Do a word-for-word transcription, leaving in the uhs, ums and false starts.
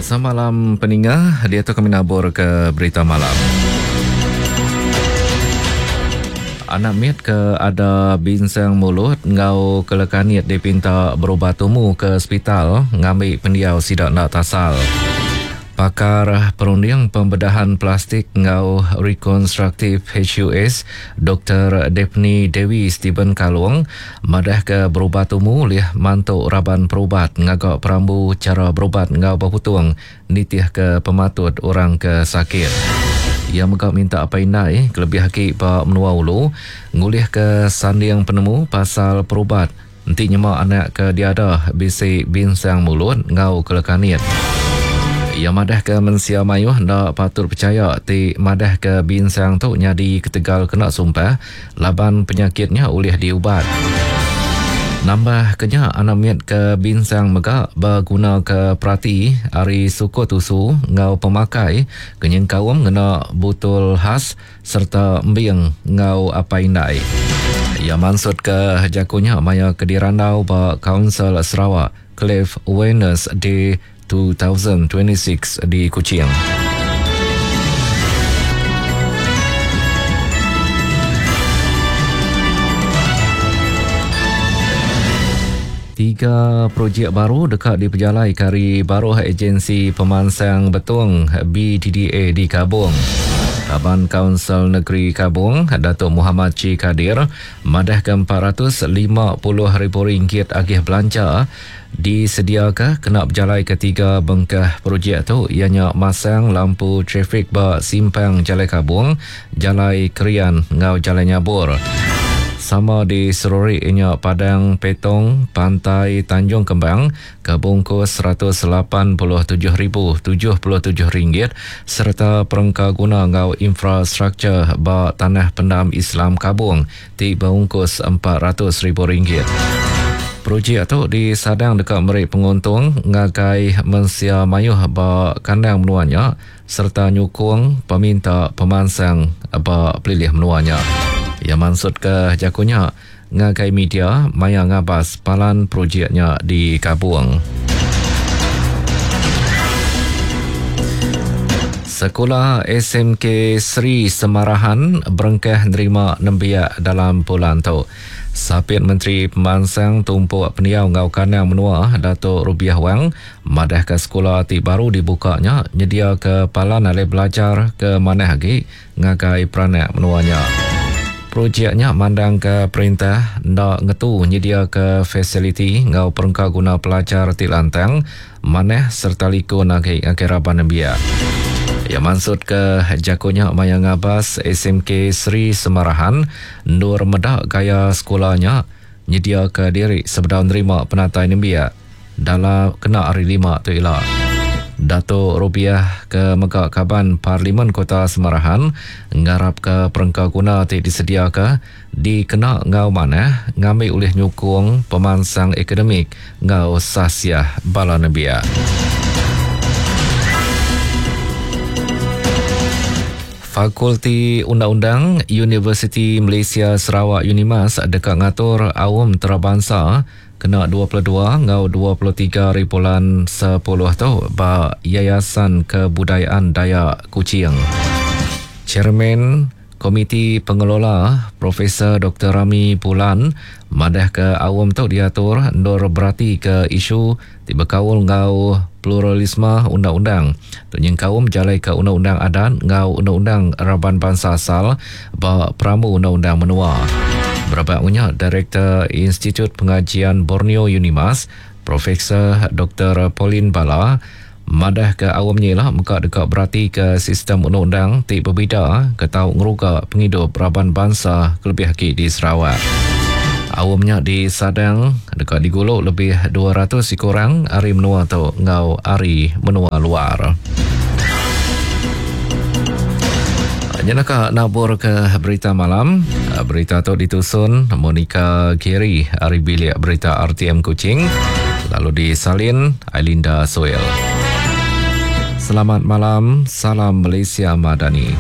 Semalam peninga dia tu kami nabur ke berita malam. Anak mit ke ada binsang mulut ngau kelekanit dipinta berubat tumu ke hospital ngambil pendiau sidak nak tasal. Pakar Perunding Pembedahan Plastik ngau Rekonstruktif H U S Doktor Daphne Dewi Stephen Kalung madah ke berubat tumu lih mantuk raban perubat ngagak perambu cara berubat ngau berputung nitih ke pematut orang ke sakit. Ia megak minta apa indai kelebih haki ba menua ulu ngulih ke sanding penemu pasal perubat enti nyema anak ke diada bisi binsang mulut ngau kelekanit. Ia madah ke mensia mayuh ndak patut percaya ti madah ke binsang tu nyadi ketegal kena sumpah laban penyakitnya ulih diubat. Nambah kenya anak mit ke binsang mega berguna ke perati ari suku tusu ngau pemakai kenyeng kaum ngena butul khas serta embing ngau apa indai. Ia maksud ke jakunya maya kedirandau ba Council Sarawak Cleft Awareness Day dua ribu dua puluh enam di Kuching. Tiga projek baru dekat dipejalai kari baruh Agensi Pemansang Betong B D D A di Kabong. Kaban Kaunsil Negeri Kabong, Datuk Muhammad Chi Kadir, madah ke empat ratus lima puluh ribu ringgit agih belanja disediakan kena berjalai ketiga bengkah projek tu ianya masang lampu trafik ba simpang Jalai Kabong, Jalai Krian ngau Jalai Nyabur. Sama di Serori ianya Padang Petong, Pantai Tanjung Kembang ke bungkus seratus lapan puluh tujuh ribu tujuh puluh tujuh ringgit serta perengka guna ngau infrastruktur ba Tanah Pendam Islam Kabong ti bungkus empat ratus ribu ringgit. Projek tu disadang dekat merik penguntung ngagai mensia mayuh ba kandang menuanya serta nyukung peminta pemansang ba pelilih menuanya. Ia maksud ke jakunya ngagai media maya ngabas palan projeknya di Kabung. Sekolah S M K Seri Semarahan berengkah nerima nembiak dalam bulan tu. Sapit Menteri Pemansang Tumpuk Pendiau Ngau Kanang Menua Datuk Rubiah Wang madah ke sekolah ti baru dibukanya nyedia ke palan alai belajar ke manah agi ngagai peranak menuanya. Projeknya mandang ke perintah ndak ngetu nyedia ke fasiliti ngau perengka guna pelajar ti lantang manah serta likun agi ngagai raban nembiak. Ya maksud ke jakunya maya ngabas S M K Seri Semarahan nur medak gaya sekolahnya nyedia ke diri sebedau nerima penatai nembiak dalam kena hari lima tu ila. Datuk Rubiah ke Megak Kaban Parlimen Kota Semarahan ngarap ke perengka guna ti disediaka dikena ngau manah ngambil oleh nyukung pemansang akademik ngau sasiah bala nembiak. Fakulti Undang-Undang Universiti Malaysia Sarawak Unimas dekat ngatur awam terabangsa kena dua puluh dua ngau dua puluh tiga hari bulan sepuluh tu ba Yayasan Kebudayaan Dayak Kuching. Chairman Komiti Pengelola Profesor Doktor Rami Bulan madah ke awam tu diatur ndur berati ke isu ti berkaul ngau pluralisme undang-undang. Tu nyengkaum jalai ke undang-undang adat ngau undang-undang raban bangsa asal ba peramu undang-undang menua. Berapa punya Direktur Institut Pengajian Borneo Unimas Profesor Doktor Pauline Bala madah ke awamnya lah muka dekat berarti ke sistem undang-undang ti berbeza ke tau ngeruga penghidup raban bangsa kelebih lagi di Sarawak. Awamnya di Sadang dekat diguluk lebih dua ratus orang ari menua tu ngau ari menua luar. Nyenaka nabur ke berita malam. Berita tu ditusun Monica Gary ari bilik berita R T M Kuching lalu disalin Ailinda Soel. Selamat malam, salam Malaysia Madani.